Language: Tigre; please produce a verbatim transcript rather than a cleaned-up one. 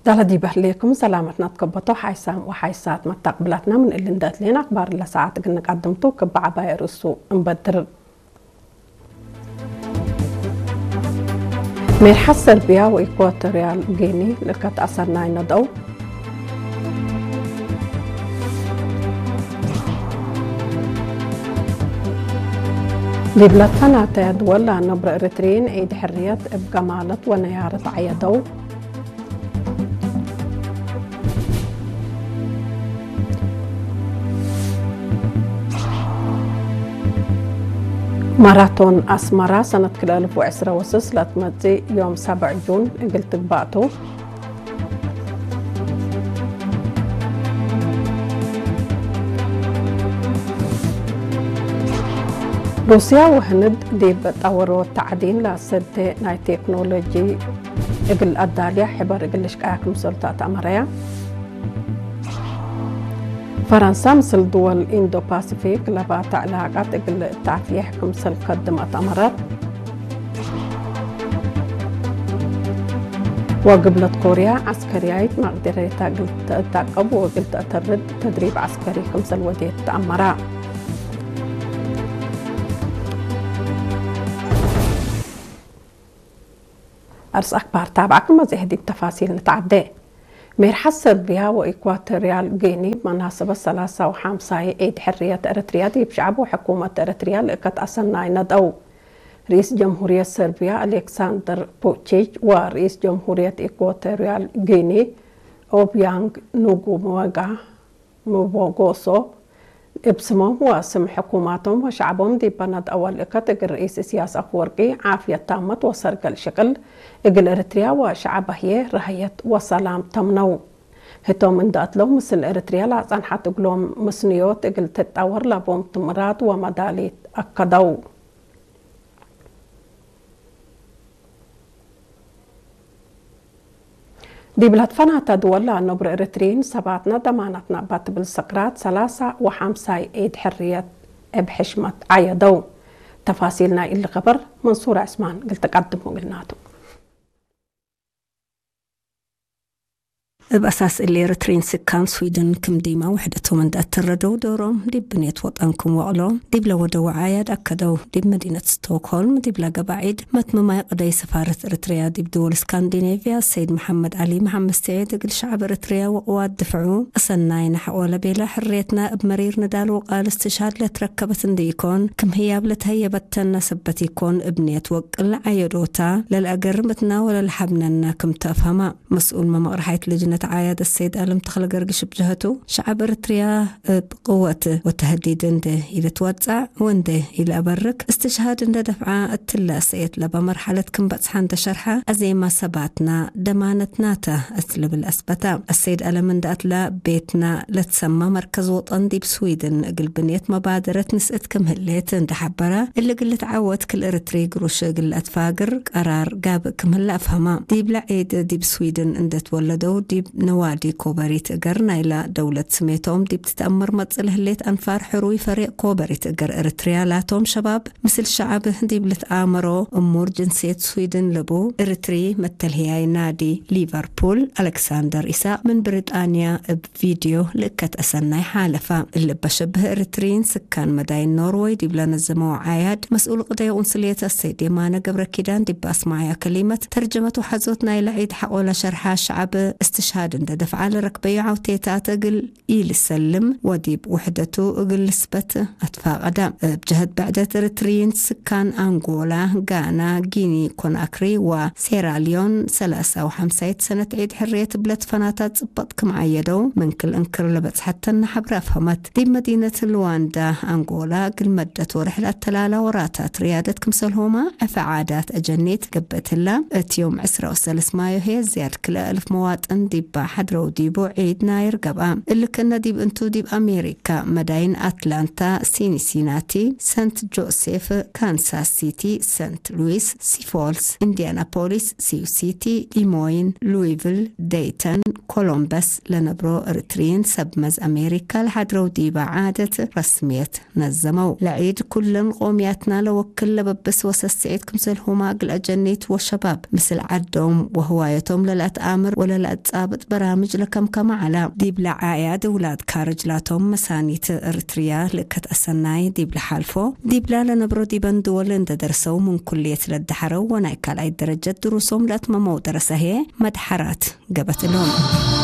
ዳለ ዲበ ህሌኩም ሰላመትና ትከበቶ ሓይሳም ወሓይሳት መታቅብላትና፣ ምን እሊ እንደ እትሌን አክባር ለሰዓት እግል ንቀድምቱ ክብ ዐባይ ርእሱ እንበድር። ሜርሐት ሰርቢያ ወኢኳቶሪያል ጊኒ ልከት አሰናይ ነድአው። ዲብ ለትፈናተ ድወል ለአነብረ ኤረትርዪን ዒድ ሕርየት እብ ገማለት ወነያረት ዐየደው። ማራቶን አስመራ ሰነት ክልኤ አልፍ ወዕስረ ወስስ ለትመጽእ ዮም ሰብዕ ጁን እግል ትግባእ ቱ። ሩስያ ወህንድ ዲብ ጠወሮ ተዕዲን ለአሰዴ ናይ ቴክኖሎጂ እግል አዳልያ ሕበር እግል ልሽቀያ ክምሰል ተአትአመረያ። ፈረንሳ ምስል ድወል ኢንዶ ፓሲፊክ ለባተ ዕላቃት እግል ተአፍዬሕ ክምሰል ከድም አትአመረት። ወግብለት ኮርያ ዐስከርያይት መቅደረታ እግል ተአታቅብ ወእግል ተአተርድ ተድሪብ ዐስከሪ ክምሰል ወዴት ተአመራ። አርስ አክባር ታብዐክም መጽሔት ዲብ ተፋሲል ንትዐዴ። ሜርሐት ሰርቢያ ወኢኳቶሪያል ጊኒ መናሰበት ሰላሳ ወሐምሳይ ዒድ ሕርየት ኤረትርያ ዲብ ሸዐብ ወሕኩመት ኤረትርያ ልእከት አሰናይ ነድአው። ርኢስ ጀምሁርየት ሰርቢያ አሌክሳንደር ቡቺች ወርኢስ ጀምሁርየት ኢኳቶሪያል ጊኒ ኦቢያንግ ኑጉመጋ ምቦጎሶ፣ እብ ስሞም ወስም ሕኩማቶም ወሸዐቦም ዲብ በነድ አወል እከት እግል ርኢስ እስያስ አፍወርቂ ዓፍየት ታመት ወሰርገል ሽቅል፣ እግል ኤረትርያ ወሸዐበ ህዬ ረሀየት ወሰላም ተምነው። ህቶም እንደ አትለው ምስል ኤረትርያ ለአጸንሐት እግሎም ምስንዮት እግል ትጠወር ለቦም ትምራት ወመዳሊት አከደው። ዲብ ለትፈናተ ድወል ለአነብሮ ኤረትርዪን ሰባትነ ደማነትነ እበ ትብል ስቅራት ሰላሳ ወሐምሳይ ዒድ ሕርየት እብ ሕሽመት ዐየደው። ተፋሲል ናይ እሊ ከበር መንሱር ዕስማን እግል ትቀድሞ እግልናቱ። እብ አሳስ እሊ ኤረትርዪን ስካን ስዊድን ክም ዲማ ውሕደቶም እንደ አተረደው ዶሮም ዲብ ብኔት ወጠን ክም ወቅሎ ዲብ ለወደው አያድ አከደው። ዲብ መዲነት ስቶክሆልም ዲብ ለገብአ ዒድ መትምማይ ቅደይ ሰፋረት ኤረትርያ ዲብ ድወል እስካንዲኔቭያ ሰይድ መሐመድ ዐሊ መሐመድ ስዒድ እግል ሸዐብ ኤረትርያ ወቅዋት ድፍዑ አሰናይነ ሐቆ ለቤለ ሕርየትና እብ መሪር ንዳል ወቃል እስትሽሃድ ለትረከበት እንዲ ኢኮን ክም ህያብ ለተህየበተነ ሰበት ኢኮን እብ ኔት ወቅል ዐየዶታ ለለአገርምትና ወለለሐብነነ ክም ተአፍሀማ። መስኡል መመቅረሓይት ልጅነት ዓያድ አሰይድ አለም ተኽለ ገርግሽ እብ ጀሀቱ፣ ሸዐብ ኤረትርያ እብ ቅወት ወተህዲድ እንዴ ኢልትወጸዕ ወእንዴ ኢለአበርክ፣ እስትሽሃድ እንዴ ደፍዐ እትለ ሰእየት ለበ መርሐለት ክም በጽሐ እንዴ ሸርሐ፣ አዜማ ሰባትና ደማነትና ተ እት ልብል አስበተ። አሰይድ አለም እንዴ አትለ ቤትና ለትሰማ መርከዝ ወጠን ዲብ ስዊድን እግል ብንየት መባደረት ንስእት ክም ህሌት እንዴ ሐበረ፣ እሊ እግል ልትዓወት ክል ኤረትሪ ግሩሽ እግል ለአትፋግር ቀራር ጋብእ ክም ህለ አፍሀማ። ዲብለ ዒድ ዲብ ስዊድን እንዴ ትወለደው ዲብ ነዋዲ ኮበሪት እገር ናይላ ደውለት ስሜቶም ዲብ ትትአመር መጽእ ለህሌት አንፋር ሕሩይ ፈሬቅ ኮበሪት እገር ኤረትርያ ላቶም ሸባብ ምስል ሸዐብ ዲብ ልትአመሮ እሙር ጅንስየት ስዊድን ልቡ፣ ኤረትሪ መተልህያይ ናዲ ሊቨርፑል አሌክሳንደር ኢሳቅ ምን ብሪጣንያ እብ ቪድዮ ልእከት አሰናይ ሓለፋ። እሊ እበ ሸብህ ኤረትርዪን ስካን መዳይን ኖርወይ ዲብ ለነዘመው ዓያድ መስኡል ቅደይ ቁንስልየት አሰይድ የማነ ገብረኪዳን ዲብ አስማዕያ ከሊመት ተርጀመት ወሐዞት ናይለ ዒድ ሐቆ ለሸርሐ ሸዐብ እስትሽሃድ እንዴ ደፍዐ ለረክበዩ ዐውቴታት እግል ኢልሰልም ወዲብ ውሕደቱ እግል ልስበት አትፋቀደ። እብ ጀህት ብዕደት ኤረትርዪን ስካን አንጎላ፣ ጋና፣ ጊኒ ኮናክሪ ወሴራልዮን ሰላሳ ወሐምሳይት ሰነት ዒድ ሕርየት እብ ለትፈናታ ጽበጥ ክም ዐየደው ምን ክል እንክር ለበጽሐተነ ሐብረ አፍሀመት። ዲብ መዲነት ሉዋንዳ አንጎላ እግል መደት ወርሕ ለአተላላ ወራታት ርያደት ክምሰልሆመ ዕፈ ዓዳት አጀኔት ገብአት ህላ። እት ዮም ዕስራ ወሰልስ ማዮ ህዬ ዝያድ ክልኤ አልፍ መዋጥን ዲባ ሐድረው ዲቡ ዒድ ናይር ገብአ። እሊ ክእነ ዲብ እንቱ ዲብ አሜሪካ መዳይን አትላንታ፣ ሲንሲናቲ፣ ሰንት ጆሴፍ፣ ካንሳስ ሲቲ፣ ሰንት ሉዊስ፣ ሲፎልስ፣ ኢንዲያናፖሊስ፣ ሲው ሲቲ፣ ዲሞይን፣ ሉዊቪል፣ ደይተን፣ ኮሎምበስ ለነብሮ ኤረትርዪን ሰብ መዝ አሜሪካ ለሐድረው ዲበ ዓደት ረስምየት ነዘመው። ለዒድ ኩለን ቆምያትና ለወክል ለበብስ ወሰስዒት ክምሰልሁማ እግል አጀኒት ወሸባብ ምስል ዐዶም ወህዋየቶም ለለአትአምር ወለለአትጻበ እት በራምጅ ለከምከመ ዐለ። ዲብለ ዓያድ ውላድ ካርጅ ላቶም መሳኒት እርትርያ ልእከት አሰናይ ዲብለ ሓልፎ፣ ዲብላ ለነብሮ ዲበን ድወል እንደ ደርሰው ምን ኩልየት ለደሐረው ወናይ ካልኣይ ደረጀት ድሩሶም ለአትመመው ደረሰ ህዬ መድሐራት ገበት እሎም።